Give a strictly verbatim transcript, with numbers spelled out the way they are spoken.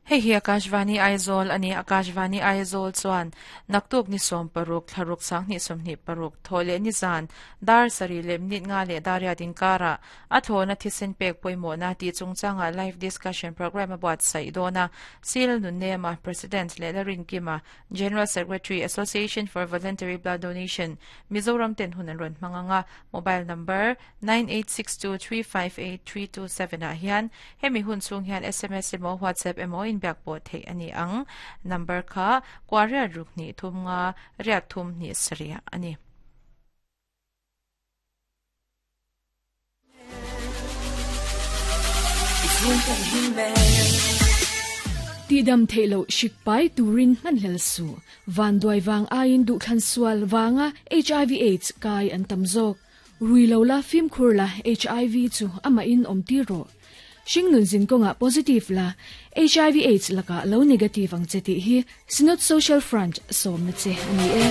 Hei hi Akashvani Aizawl ani Akashvani Aizawl chuan naktuk ni som paruk thlaruk sang ni som ni paruk thole ni zan dar sari lem nit nga le daria din kara a thona thisen pek poimo na ti chungchanga live discussion program about sai dona sil nun nema president le larin kima general secretary Association for Voluntary Blood Donation Mizoram ten hunan ron manganga mobile number nine eight six two three five eight three two seven a hian hemi hun chung hian S M S emo WhatsApp emo in biak po thei ani ang number kha kwaria rukni thumnga riat thum ni saria ani Ti dam thailo shikpai turin manhel su van doi wang ain du khan sual wanga H I V AIDS kai an tamzok ruilo la phim khur la H I V chu ama in om ti ro Shing nun zin konga positive la H I V AIDS laka lo negative ang cheti hi Synod Social Front som na che ani e.